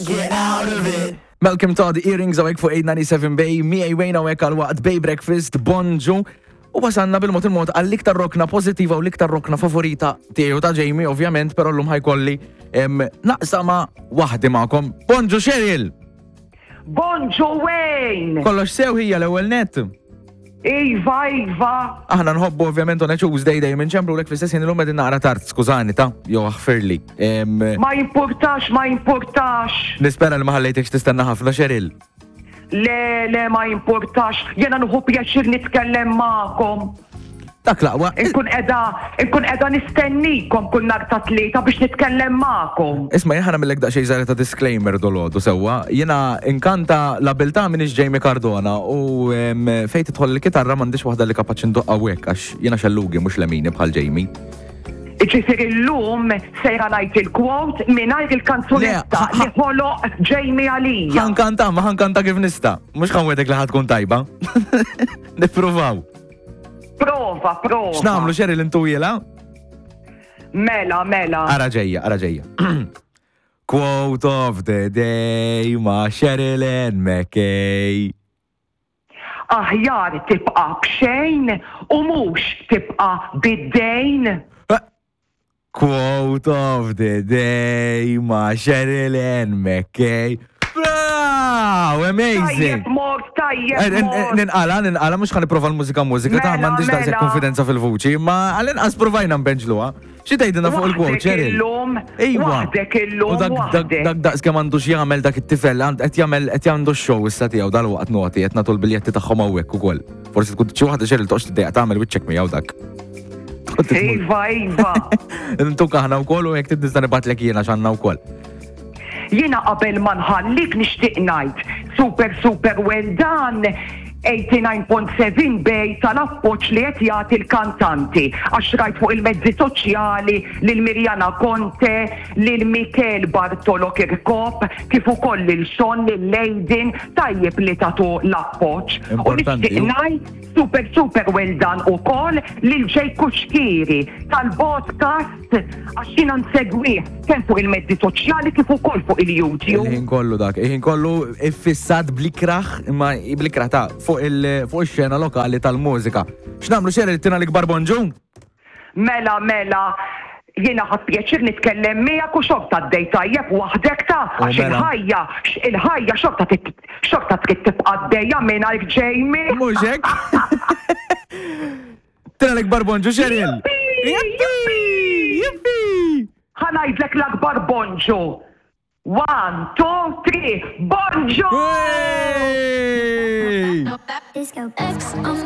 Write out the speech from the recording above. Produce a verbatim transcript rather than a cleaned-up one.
get out of it. Malcolm Todd, Earrings hawnhekk fuq eight ninety-seven Bay, miegħi Wayne hawnhekk għal waqt Bay Breakfast, bonġu. U wasanna bil-mod il-mod għall-iktar rokna pozittiva u l-iktar rokna favorita tiegħu ta' Jamie, ovvjament, però llum ħa jkolli em, naqsama waħdi magħkom. Bonġu, Cheryl! Bonġu, Wayne! Kollox sew hija l-ewwel net? Iva, Iva. Aħna nħobbu ovvjament on a Tuesday dejjem inċemplu lek fl-istess ħin. Illum qegħdin naqra tard, skużani ta' jew aħfirli. Em, Ma importax, ma importax. Nispera li ma ħallejtekx tistenna ħafna, Cheryl. Le, le, ma importax. Jena nieħu pjaċir nitkellem magħkom. Dak l-aqwa. Inkun qiegħda, inkun qiegħda nistennikom kull nhar ta' Tlieta biex nitkellem magħkom. Isma', jien ħa nagħmillek daqsxejn żgħira ta' disclaimer dolodu sewwa. Jiena inkanta l-abilta minix Jamie Cardona u em, fejn tidħol il-kitarra m'għandix waħda li kapaċi ndoqqa hekk għax jiena xellugi, mhux lemini bħal Jamie. Ġifieri llum sejra ngħid il-quote mingħajr il-kanzunetta Le, li ħoloq Jamie għalija. Ħa nkanta, ma ħa nkanta kif nista'. Mhux ħa nwegħdek li ħa tkun tajba. Nippruvaw. Prova, prova. X'nagħmlu, Cheryl, intuhielha? Mela, mela. Ara ġejja, ara ġejja. Quote of the day ma' Cheryl Ann McKay. Aħjar tibqa' bxejn u mhux tibqa' bid-dejn. Quote of the day ma' Cheryl Ann McKay. Bravo! Amazing! Tajjeb mort, tajjeb Eh, eh, mort. Ninqala, ninqala, mhux ħa nipprova l-mużika mużika, ta' Mela, m'għandix daqshekk mela. konfidenza fil-vuċi, ma għall-inqas provajna nbenġluha. Xi tgħidilna fuq il-quote, Waħdek Cheryl? illum, Ejwa. waħdek illum, U dak dak waħdek. dak daqs kemm għandu x'jagħmel dak it-tifel, għand- qed jagħmel qed għandu x-show issa tiegħu dal-waqt noti qed nagħtu l-biljetti tagħhom hawnhekk ukoll. Forsi tkun xi waħda, Cheryl, toqgħodx tiddejjaq tagħmel wiċċek miegħu dak. Tkun titmur. Iva, Iva. Intuk aħna wkoll u jekk trid nista' nibgħatlek jiena x'għandna wkoll. Jiena qabel ma nħallik nixtieq ngħid super super well done eighty-nine point seven Bay tal-appoġġ li qed jagħti l-kantanti, għax rajt fuq il-mezzi soċjali lil Mirjana Conte, lil Mikel Bartolo Kirkop, kif ukoll lil Sean, lil Lejdin, tajjeb li tagħtu l-appoġġ. U Importanti, nixtieq ju. ngħid super super well done ukoll lil Jay Cuschieri tal-podcast, għax jiena nsegwih kemm fuq il-mezzi soċjali kif ukoll fuq il-YouTube. Il-ħin kollu dak, il-ħin kollu iffissat bl-ikraħ, imma bl-ikraħ ta' fuq il- fuq ix-xena lokali tal-mużika. X'nagħmlu, Cheryl, tina l-ikbar bonġu? Mela, mela, jiena ħadt pjaċir nitkellem miegħek u xorta għaddej tajjeb waħdek ta' U għax mela. il-ħajja, il-ħajja xorta tit- xorta trid tibqa' għaddejja mingħajr Jamie. Mhux hekk? Tina l-ikbar bonġu, Cheryl! Jippi! Jippi! Ħa ngħidlek l-akbar bonġu. One, two, three, bonġu! Hey! Disco X on